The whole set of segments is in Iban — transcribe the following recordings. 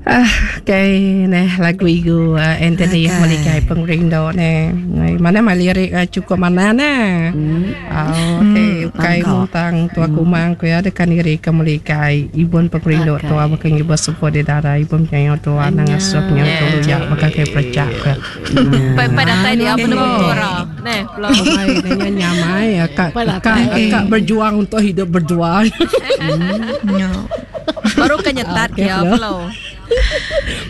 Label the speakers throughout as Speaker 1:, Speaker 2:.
Speaker 1: Ah, okay, neh lagu igu uh, Anthony okay. Meligai Pengerindu neh. Mana mah lirik uh, cukup mana neh. Hmm. Oh, okay, hmm. ukai muntang tua hmm. kumang ku ya dekan diri ke meligai ibun pengerindu okay. tua baka ngibur sebuah di dara ibun penyayau tua nang asuh penyayau tu luya baka kai perecak ku.
Speaker 2: Pai pai datai dia apa nama ora. Neh,
Speaker 1: pulau. Mai nanya nyamai kak kak kak berjuang untuk hidup berdua.
Speaker 2: Hmm. Baru ke nyetat okay, ya Flo.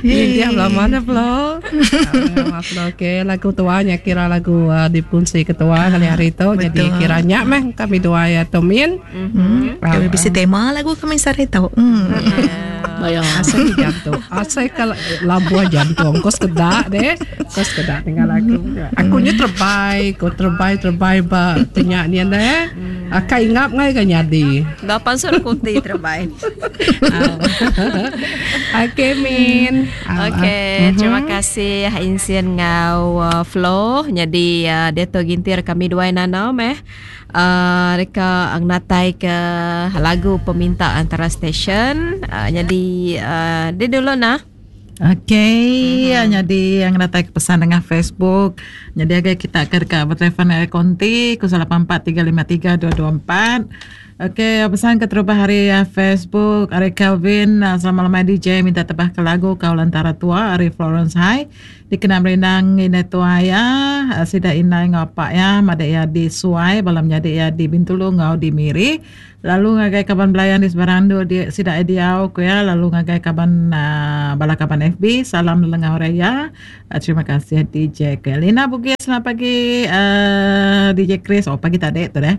Speaker 1: Ini dia belah mana Flo? Ah, Flo okey lagu tua nya kira lagu uh, dipungsi ketua kali hari tu jadi kira nya meh kami dua ya Tomin.
Speaker 3: Mm-hmm. Kami bisi tema lagu kami sehari tu. Mm.
Speaker 1: Bayang asal jantung. Asal kalau labuh jantung kau sekedak deh. Kau sekedak dengan lagu. Aku nya terbai, kau terbai terbai ba tanya ni deh. Akai ingap ngai ga nyadi.
Speaker 2: Enda pansut kunti terebai.
Speaker 1: Okey Min.
Speaker 2: Okey, terima kasih Insin enggau uh, Flo. Nyadi uh, diatu gintir kami duai Nana meh. Uh, deka natai ke lagu peminta antara stesen. Uh, nyadi uh, dia dulu nah.
Speaker 4: Okey, mm-hmm. nyadi yang datai ke pesan nengah Facebook. Nyadi agai kita ke deka betelefon ari konti 0843532224. Okey, pesan keterubah ari eh, Facebook ari Kelvin eh, selamat lemai DJ minta tebah ke lagu Kau Lantara Tua ari Florence High dikena merindang indai tua iya eh, sida indai enggau apak iya madak iya di Suai bala menyadi iya di Bintulu enggau di Miri. Lalu ngagai kaban belayan di sebarang endur di sida diau ku iya lalu ngagai kaban uhh bala kaban FB salam lelengau raya terima kasih DJ ku iya. Lina Bugis selamat pagi uhh DJ Chris oh pagi tadi tu deh.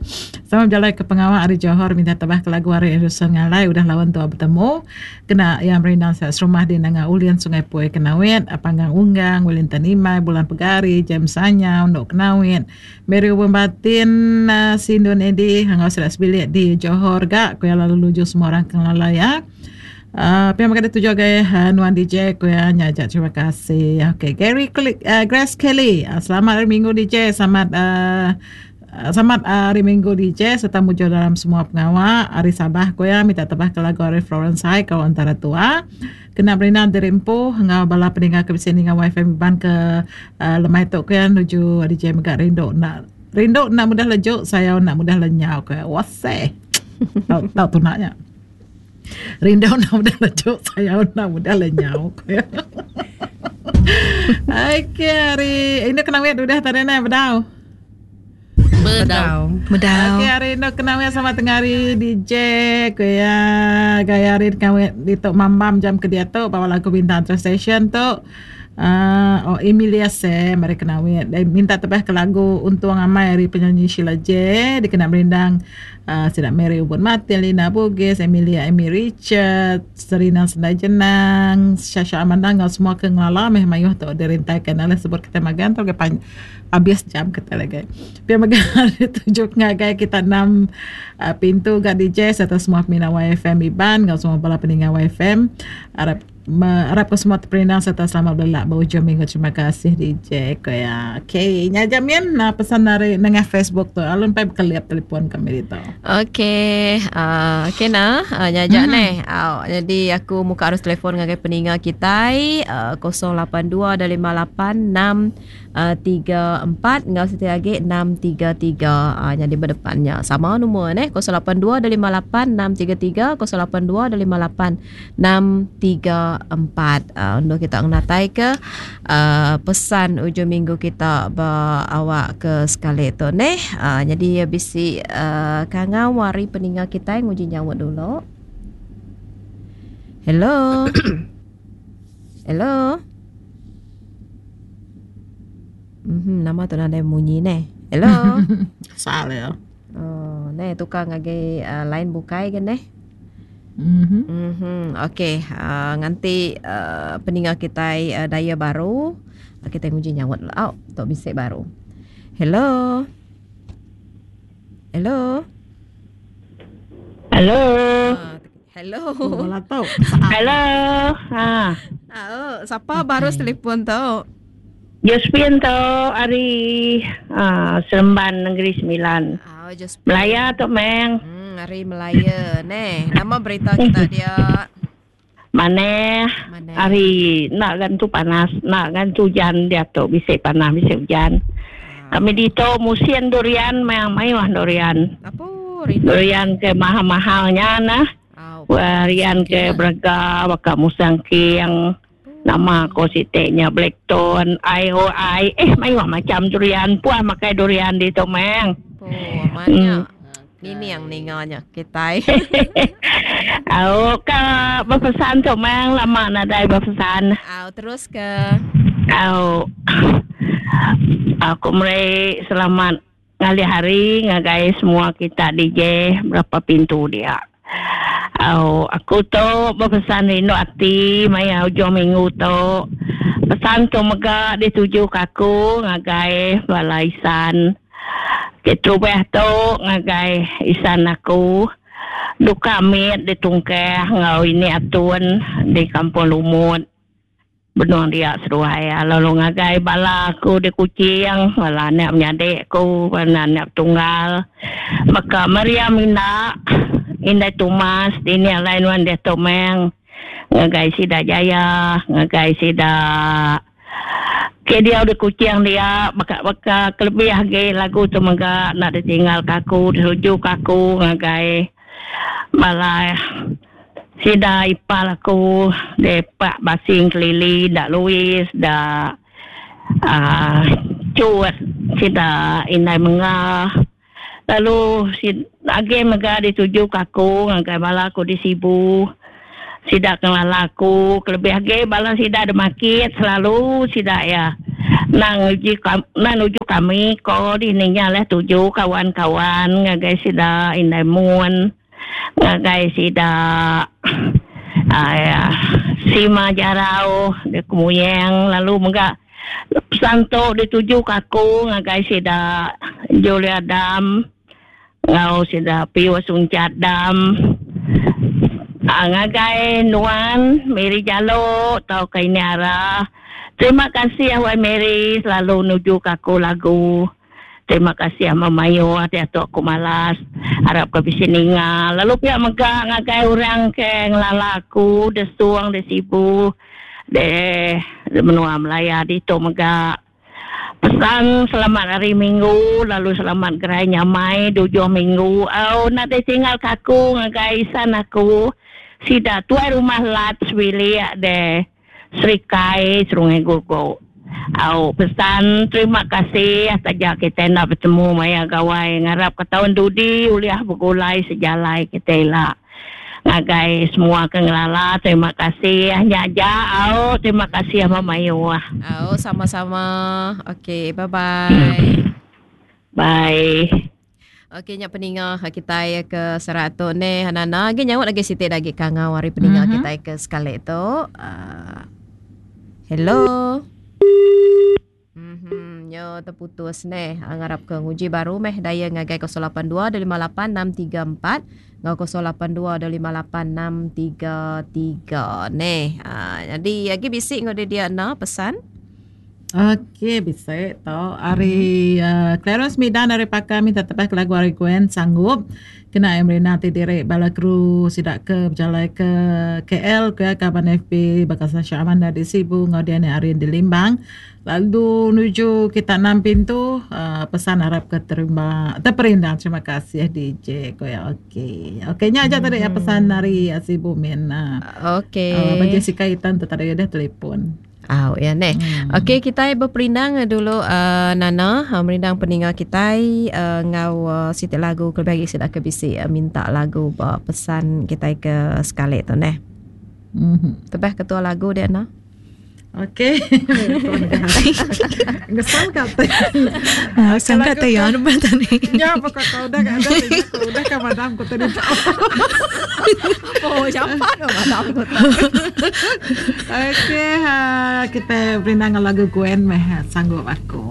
Speaker 4: Sama bejalai ke pengawa ari Johor minta tebah ke lagu ari Anderson Ngalai udah laun tua betemu kena iya merindang sida serumah di Nanga Ulin Sungai Pui Kenawit Panggang Unggang Wellington Imai Bulan Pegari James Anyau Endo Kenawit Meri Ubun Batin, Sindun Edi enggau sida sebilik di Johor ga ku iya lalu nuju semua orang ke ngelala iya. Uh, pia mega dituju agai uh, nuan DJ ku iya nya aja terima kasih. Okey, Gary Kli, uh, Grace Kelly. Uh, selamat hari Minggu DJ, selamat uh, Selamat hari Minggu DJ serta mujur dalam semua pengawa. Hari Sabah ku iya minta tebah ke lagu ari Florence High kau antara tua. Kena berindang diri empu enggau bala peninga ke bisi ninga WiFi Iban ke lemai tu ku iya nuju DJ mega rindu enda rindu enda mudah leju sayau enda mudah lenyau ku iya. Waseh. Tau tau tuna nya. Rindu enda mudah leju sayau enda mudah lenyau ku iya. Okey hari indu kena wit udah tadi neh bedau.
Speaker 1: Bedau.
Speaker 3: Bedau.
Speaker 4: Okey hari endo kena weh sama tengah hari DJ ku iya gaya hari kena weh ditu mambam jam ke diatu bawa lagu bintang antara station tu uh, oh Emilia Sam hari kena weh minta tebah ke lagu Untung Amai hari penyanyi Sheila J dikena merindang uh, sida Mary Ubun Martin, Lina Bugis, Emilia Amy Richard, Serina Sendai Jenang, Shasha Amanda enggau semua ke ngelala meh mayuh tu dirintaikan oleh sebut kita magang tu Abis jam kita lagi. Pia mega dituju ngagai kita enam uh, pintu ga DJ serta semua peminat YFM Iban enggau semua bala peninga YFM. Arap arap ke semua terperindang serta selamat belelak ba ujung minggu. Terima kasih DJ ko ya. Okey, nya jamin nah pesan dari nengah Facebook tu. Alun pai bekelip telefon kami ditu.
Speaker 2: Okey, uh, okey nah, uh, nya aja mm-hmm. neh. Uh, jadi aku muka arus telefon ngagai peninga kitai uh, 082 58 6 3 4 enggau siti agi 6 3 3 nyadi ba depan nya sama numur neh 082 258 633 082 258 634 endur kita ngenatai ke pesan ujung minggu kita ba awak ke sekali tu neh nyadi bisi kangau ari peninga kitai nguji nyaut dulu. Hello. Hello. Mhm, nama tu nadai munyi neh. Hello.
Speaker 4: Salah ya.
Speaker 2: Oh, neh tukar ngagai uh, line bukai ke neh.
Speaker 4: Mhm.
Speaker 2: Mhm. Okey, uh, nganti uh, peninga kitai uh, daya baru. Uh, kita nguji nyaut lah. Oh, tok bisik baru. Hello. Hello.
Speaker 5: Hello.
Speaker 2: Uh, hello.
Speaker 4: Oh, tu.
Speaker 5: Hello. Ha.
Speaker 2: Ah, oh, siapa baru telefon tu?
Speaker 5: Josephine tu ari uh, Seremban Negeri Sembilan.
Speaker 2: Oh, Josephine.
Speaker 5: Melaya tu meng.
Speaker 2: Hari Melaya neh. Nama berita kita dia?
Speaker 5: Manah hari enda ga entu panas enda ga entu ujan diatu bisi panas bisi ujan. Kami ditu musin durian meh mayuh durian. Durian ke mahal-mahal nya nah. Durian ke berega baka musang king nama ko siti nya blackton IOI eh mayuh macam durian puah makai durian ditu meh.
Speaker 2: Oh, Nining ninga nya kitai.
Speaker 5: Au ka bepesan tu mang lama nadai bepesan.
Speaker 2: Au terus ke.
Speaker 5: Au aku meri selamat ngalih hari ngagai semua kita DJ berapa pintu dia. Au aku tu bepesan rindu ati maya ujung minggu tu. Pesan tu mega dituju ka aku ngagai bala isan. Keterubah tu ngagai isan aku duka mit ditungkah enggau ini atun di Kampung Lumut benung dia seduai iya lalu ngagai bala aku di Kuching bala anak menyadi aku bala anak tunggal baka Maria Minda indai Thomas dini alai nuan diatu meng ngagai sida Jaya ngagai sida Ke diau di Kuching dia baka baka kelebih agi lagu tu mega enda ditinggal ka aku dituju ka aku ngagai bala sida ipar aku di pak Basing Kelili da Louis da uhh Chut sida indai Mengga lalu agi mega dituju ka aku ngagai bala aku di Sibu. Sida ke ngelala aku kelebih agi bala sida da makit selalu sida iya enda nguji enda nuju kami ko dini nya leh tuju kawan kawan ngagai sida indai mun ngagai sida aaa sima jarau da kemuyang lalu mega pesan tu dituju ka aku ngagai sida Julia Dam. Enggau sida Pius Unchat Dam ngagai nuan Mary Jalo tauka Ini Ara. Terima kasih wai Mary selalu nuju ka aku lagu. Terima kasih memayuh diatu aku malas. Arap ka bisi ninga lalu pia mega ngagai orang ke ngelala aku desung di Sibu di menua Malaya ditu mega. Pesan selamat hari minggu lalu selamat gerai nyamai di ujung minggu au nadai tinggal ka aku ngagai isan aku sida tuai rumah lat sebilik de Serikai Serungai Gugu au pesan terima kasih taja kitai enda betemu maya gawai ngarap ka taun dudi ulih begulai sejalai kitai ila. Ngagai semua ke ngelala terima kasih nya aja au terima kasih memayuh.
Speaker 2: Au sama-sama. Okey bye bye.
Speaker 5: Bye.
Speaker 2: Okey nya peninga kitai ke serak tu neh Nana agi nyaut agi siti da agi kangau ari peninga mm -hmm. kitai ke sekali tu. Uh, hello. Mhm, nyo terputus neh. Ah, ngarap ke nguji baru meh daya ngagai 082 258 634 ngau 082 258 633 neh. Ah, jadi agi bisi ngau dia dia na pesan.
Speaker 4: Okey, bisi tu. Ari uh, Clarence Midan ari Pakar minta tebah ke lagu ari Gwen sanggup. Kena ai merina ti diri bala kru sida ke bejalai ke KL ke kaban FB baka Sasha Amanda di Sibu enggau Diani Arin di Limbang lalu nuju kita enam pintu uh, pesan arap ke terima terperindang terima kasih DJ ko ya okey okey nya aja tadi ya pesan ari Sibu min uh,
Speaker 2: okey
Speaker 4: uh, Jessica Itan tu tadi dah telefon
Speaker 2: Au ya neh. Hmm. Okey kitai beperindang dulu uh, Nana uh, merindang peninga kitai uh, ngau uh, siti lagu kelebih agi sida ke bisi uh, minta lagu ba pesan kitai ke sekali tu neh. Hmm. Tebah ketua lagu dia na.
Speaker 4: Okey. Ngesal ka te.
Speaker 3: Ah, sangka te ya anu tadi.
Speaker 4: Ya, pokok kau udah ada udah ka madam ko tadi.
Speaker 2: Oh, jampat oh madam ko.
Speaker 4: Okey, ha, kita berindang lagu Gwen meh sanggup aku.